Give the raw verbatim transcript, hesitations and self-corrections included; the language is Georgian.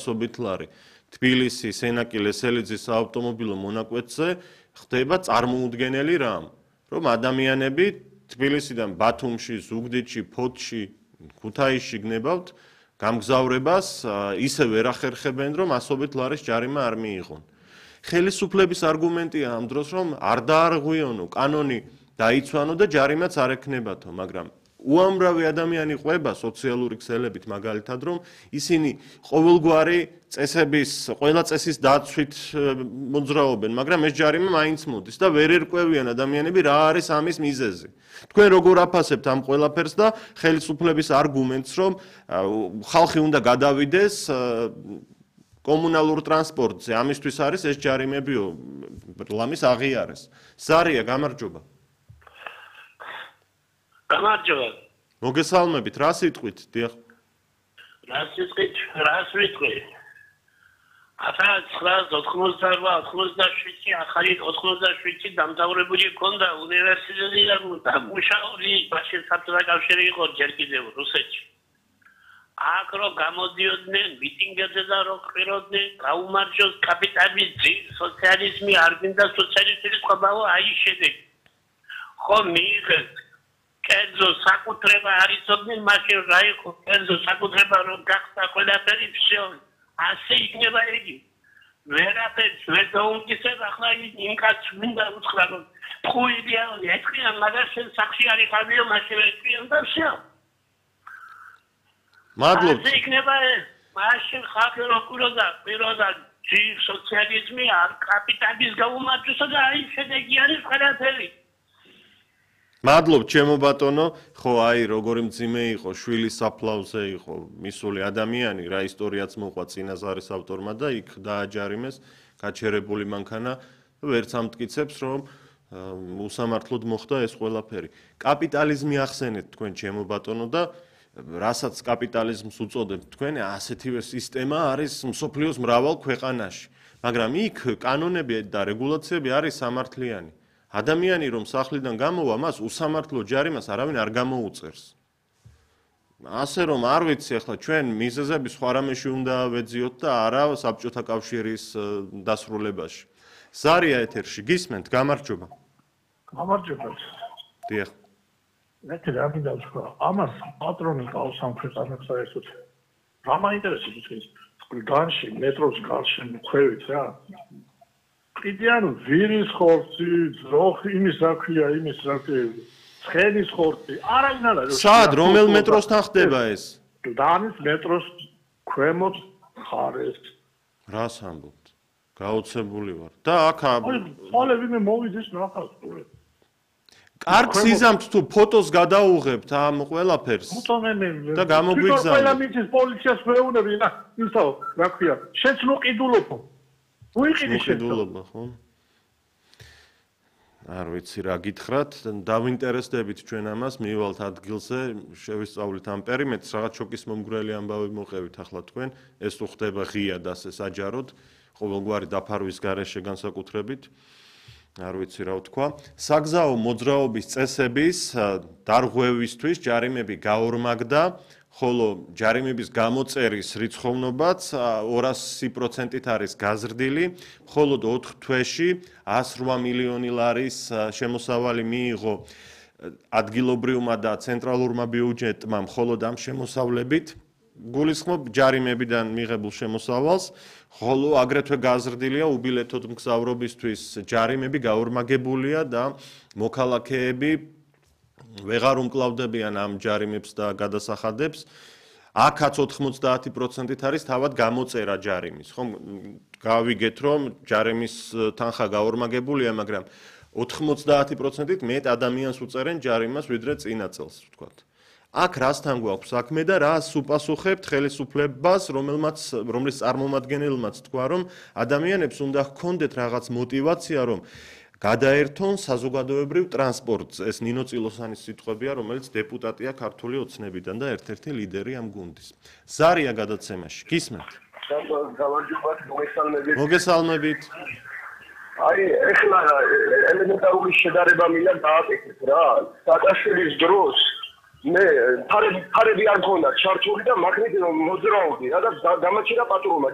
ასობით ლარი. თბილისის ენაკი ლესელიძის საავტომობილო მონაკვეთზე ხდება წარმოუდგენელი რამ, რომ ადამიანები თბილისიდან ბათუმში, ზუგდიდში, ფოთში, ქუთაისში გნებავთ გამგზავრებას, ისე ვერ ახერხებენ, რომ ასობით ლარის ჯარიმა არ მიიღონ. ხელისუფლების არგუმენტია ამ დროს, რომ არ დაარღვიონო, კანონი დაიცვანო და ჯარიმაც არ ექნებათო, მაგრამ უამრავი ადამიანი ყვება სოციალური ქსელებით მაგალითად, რომ ისინი ყოველგვარი წესების, ყველა წესის დაცვით მოძრაობენ, მაგრამ ეს ჯარიმა მაინც მოდის და ვერ ერკვევიან ადამიანები რა არის ამის მიზეზი. თქვენ როგორ აფასებთ ამ ყველაფერს და ხელისუფლების არგუმენტს, რომ ხალხი უნდა გადავიდეს კომუნალურ ტრანსპორტზე, ამისთვის არის ეს ჯარიმებიო, ლამის აღიარეს. ზარია, გამარჯობა. გამარჯობა. მოგესალმებით, რა სიტყვით, დიახ. რა სიტყვით, რა სიტყვი. ათას ცხრაას ოთხმოცდაოთხ ოცდაშვიდი ახალი ოცდაშვიდი დამთავრებული ქონდა უნივერსიტეტი და მუშაობდი ბაშენ საბჭოთა კავშირი იყო ჯერ კიდევ რუსეთში. აქ რო გამოდიოდნენ მიტინგებზე და რო ყვიროდნენ გაუმარჯოს კაპიტალიზმი, სოციალიზმი, არ გინდა სოციალისტების ყბაო აი შედეგი. ხო მიიღეს კერძო საკუთრება არისოდნენ მაშინ რა იყო კერძო საკუთრება რომ გახდა ყველაფერი всё ასე იქნება იგი ვერაფერს ვერ დაუმტკიცებ ახლა იმ კაცს მინდა უთხრა რომ ხუილია ეჭია მაგას შენ სახში არ იყავიო მაშინ ეჭია და всё მადლობთ ასე იქნება მაშინ ხალხი რო კვიროდა კვიროდა ჯი სოციალიზმი არ კაპიტალიზმის გაუმარჯოსა და აი შედეგი არის ყველაფერი მადლობ ჩემო ბატონო, ხო აი როგორი მძიმე იყო, შვილის საფლავზე იყო მისული ადამიანი, რა ისტორიაც მოყვა წინაზარის ავტორმა და იქ დააჯარიმეს, გაჩერებული მანქანა, ვერც ამტკიცებს, რომ უსამართლოდ მოხდა ეს ყველაფერი. კაპიტალიზმი ახსენეთ თქვენ ჩემო ბატონო და რასაც კაპიტალიზმს უწოდებთ თქვენ, ასეთივე სისტემა არის მსოფლიოს მრავალ ქვეყანაში, მაგრამ იქ კანონები და რეგულაციები არის სამართლიანი. ადამიანი რომ სახლიდან გამოვა, მას უსამართლო ჯარიმას არავინ არ გამოუწერს. ასე რომ არ ვიცი ახლა ჩვენ მიზეზები სხვა რამეში უნდა ვეძიოთ და არა საბჭოთა კავშირის დასრულებაში. ზარია ეთერში გისმენთ, გამარჯობა. გამარჯობა. დიახ. მე რა მინდა ვთქვა, ამას პატრონი ყავს ამ ქვეყანას საერთოდ. რა მაინტერესებს ის განში მეტროს გარშემო ქვევით რა. კიდიან ვირის ხორცი, ზოხ იმის რა ქვია, იმის რა ქვია, ცხენის ხორცი, არავინ არ არის. სად, რომელ მეტროსთან ხდება ეს? დანის მეტროს ქვემოთ ხარეს. რას ამბობთ? გაოცებული ვარ. და აქ ხოლე ვინმე მოვიდეს ნახავს ტურე. კარგ სიზამთ თუ ფოტოს გადაუღებთ ამ ყველაფერს. და გამოგვიგზავნით. ყველა მიწის პოლიციას მეუბნები, რა, ისაო, რა ქვია, შეც ნუ ყიდულობო. მოყიდულობა, ხო? არ ვიცი რა გითხრათ, დავინტერესდებით ჩვენ ამას, მივალთ ადგილზე, შევისწავლით ამ პერიმეტრს, რაღაც შოკის მომგვრელი ამბავი მოყევით ახლა თქვენ, ეს თუ ხდება ღიად ასე საჯაროდ, ყოველგვარი დაფარვის გარეშე განსაკუთრებით. არ ვიცი რა ვთქვა. საგზაო მოძრაობის წესების დარღვევისთვის ჯარიმები გაორმაგდა, ხოლო ჯარიმების გამოწერის რიცხოვნობაც ორასი პროცენტით არის გაზრდილი, მხოლოდ ოთხ თვეში ასი რვა მილიონი ლარის შემოსავალი მიიღო ადგილობრივმა და ცენტრალურმა ბიუჯეტმა მხოლოდ ამ შემოსავლებით. გულისხმობ ჯარიმებიდან მიღებულ შემოსავალს, ხოლო აგრეთვე გაზრდილია უბილეთოდ მგზავრობისთვის ჯარიმები გაორმაგებულია და მოქალაქეები ვეღარ უმკლავდებიან ამ ჯარიმებს და გადასახადებს. აქაც ოთხმოცდაათი პროცენტით არის თავად გამოწერა ჯარიმის. ხომ გავიგეთ რომ ჯარიმის თანხა გაორმაგებულია, მაგრამ ოთხმოცდაათი პროცენტით მეტ ადამიანს უწერენ ჯარიმას ვიდრე წინა წელს, ვთქვათ. აქ რასთან გვაქვს საქმე და რას უპასუხებთ ხელისუფლებას, რომელმაც რომლის წარმომადგენელმაც თქვა, რომ ადამიანებს უნდა ჰქონდეთ რაღაც мотиваცია, რომ გადაერთონ საზოგადოებრივ ტრანსპორტს. ეს ნინო წილოსანის სიტყვებია, რომელიც დეპუტატია ქართული ოცნებიდან და ერთ-ერთი ლიდერი ამ გუნდის. ზარია გადაცემაში. გისმენთ? გამარჯობათ, მოგესალმებით. მოგესალმებით. აი, ეხლა ელემენტარული შედარება მინდა დააკეთეთ რა. სააკაშვილის დროს მე ფარები ფარები არ მქონდა ჩართული და მაგნით მოძრაობდი რა და დამაჩერა პატრულმა